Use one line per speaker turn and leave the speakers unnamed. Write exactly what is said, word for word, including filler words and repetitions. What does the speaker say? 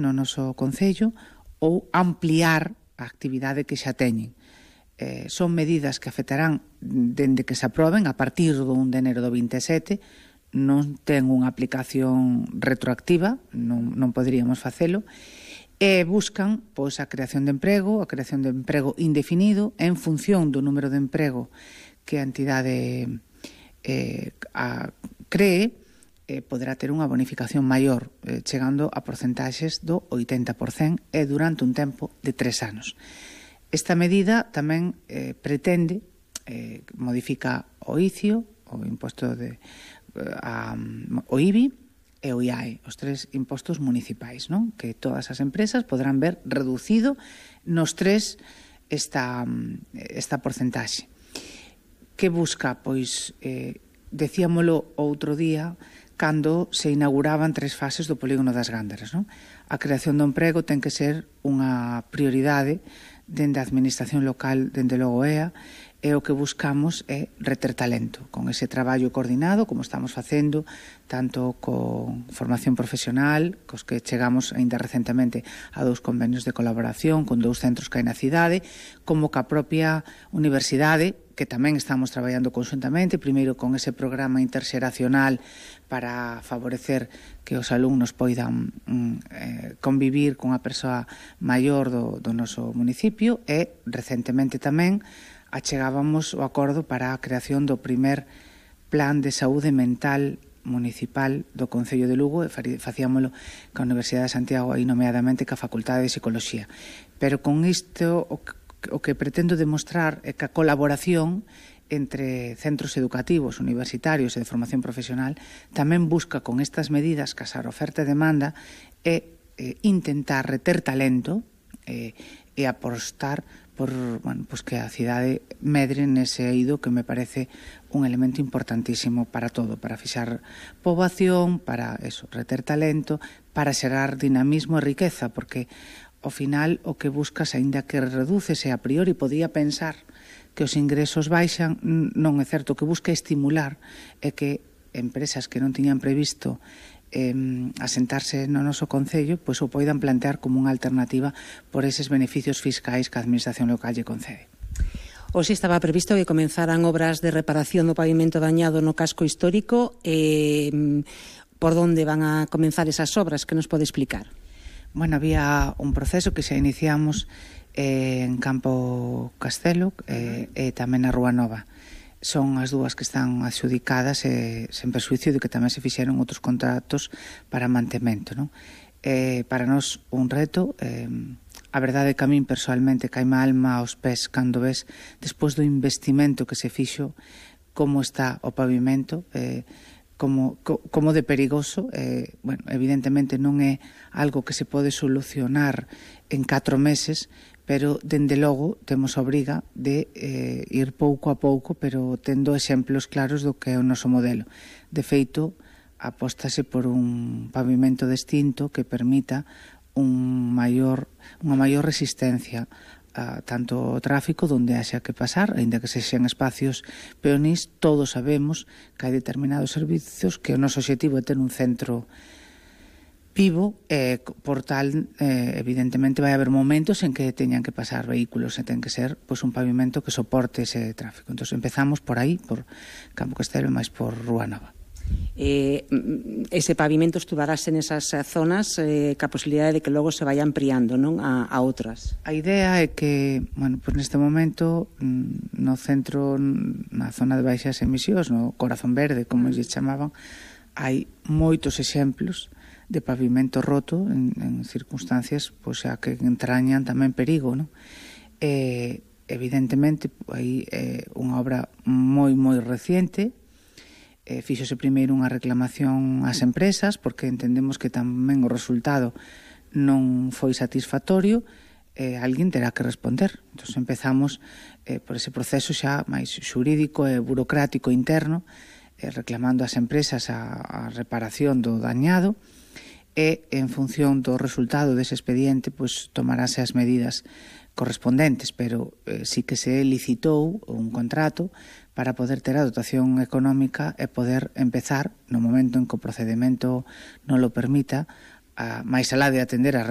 no noso concello ou ampliar a actividade que xa teñen. Eh, son medidas que afectarán dende que se aproben a partir do un de enero do vinte e sete, non ten unha aplicación retroactiva, non, non poderíamos facelo, e buscan pois, a creación de emprego, a creación de emprego indefinido en función do número de emprego que a entidade eh, a, cree, eh, poderá ter unha bonificación maior, eh, chegando a porcentaxes do oitenta por cento e durante un tempo de tres anos. Esta medida tamén eh, pretende, eh, modifica o I C I O, o imposto de, a, o I B I, e o I A E, os tres impostos municipais, non? Que todas as empresas poderán ver reducido nos tres esta, esta porcentaxe. Que busca? Pois, eh, decíamolo outro día, cando se inauguraban tres fases do polígono das Gándaras, non? A creación do emprego ten que ser unha prioridade dende a administración local, dende logo E A, e o que buscamos é reter talento, con ese traballo coordinado, como estamos facendo, tanto con formación profesional, cos que chegamos aínda recentemente a dous convenios de colaboración con dous centros que hai na cidade, como ca propia universidade, que tamén estamos traballando conjuntamente, primeiro con ese programa interxeracional para favorecer que os alumnos poidan mm, eh, convivir con a persoa maior do, do noso municipio, e recentemente tamén achegábamos o acordo para a creación do primer plan de saúde mental municipal do Concello de Lugo, e facíamolo ca Universidade de Santiago, aí nomeadamente ca Facultade de Psicoloxía. Pero con isto o que, o que pretendo demostrar é que a colaboración entre centros educativos, universitarios e de formación profesional tamén busca con estas medidas casar oferta e demanda e eh, intentar reter talento eh, e apostar por, bueno, pues que a cidade medre nese eido que me parece un elemento importantísimo para todo, para fixar poboación, para eso, reter talento, para xerar dinamismo e riqueza, porque ao final o que buscas, aínda que redúcese a priori, podía pensar que os ingresos baixan, non é certo, o que busca estimular é que empresas que non tiñan previsto Eh, asentarse no noso concello, pois o poidan plantear como unha alternativa por eses beneficios fiscais que a administración local lle concede.
Hoxe estaba previsto que comenzaran obras de reparación do pavimento dañado no casco histórico. Eh, por onde van a comenzar esas obras? Que nos pode explicar?
Bueno, había un proceso que xa iniciamos eh, en Campo Castelo eh, e tamén na Rúa Nova. Son as dúas que están adxudicadas e sen perxuicio de que tamén se fixeron outros contratos para mantemento, non? Eh, para nós un reto, eh, a verdade é que a min personalmente caime a alma aos pés cando ves, despois do investimento que se fixo, como está o pavimento, eh, como, co, como de perigoso. Eh, bueno, evidentemente non é algo que se pode solucionar en catro meses, pero, dende logo, temos a obriga de eh, ir pouco a pouco, pero tendo exemplos claros do que é o noso modelo. De feito, apóstase por un pavimento distinto que permita un maior, unha maior resistencia a tanto o tráfico donde haxa que pasar, aínda que sexan espacios peonís. Todos sabemos que hai determinados servizos que o noso objetivo é ter un centro vivo, e por tal, eh, evidentemente vai haber momentos en que teñan que pasar vehículos e ten que ser pois, un pavimento que soporte ese tráfico. Entón empezamos por aí, por Campo Castelo e máis por Rúa Nova.
Eh, ese pavimento estudarase nesas zonas eh, ca posibilidade de que logo se vaya ampliando, non, a, a outras.
A idea é que, bueno, pues neste momento no centro, na zona de baixas emisións, no Corazón Verde, como lle chamaban, hai moitos exemplos de pavimento roto en, en circunstancias pois, a que entrañan tamén perigo, non? Eh, evidentemente, hai eh, unha obra moi, moi reciente. Eh, fíxose primeiro unha reclamación ás empresas, porque entendemos que tamén o resultado non foi satisfactorio. Eh, alguén terá que responder. Entón empezamos eh, por ese proceso xa máis xurídico e burocrático interno, eh, reclamando ás empresas a, a reparación do dañado, e en función do resultado dese expediente pois tomarase as medidas correspondentes, pero eh, sí que se licitou un contrato para poder ter a dotación económica e poder empezar, no momento en que o procedimento non lo permita, a, máis alá de atender a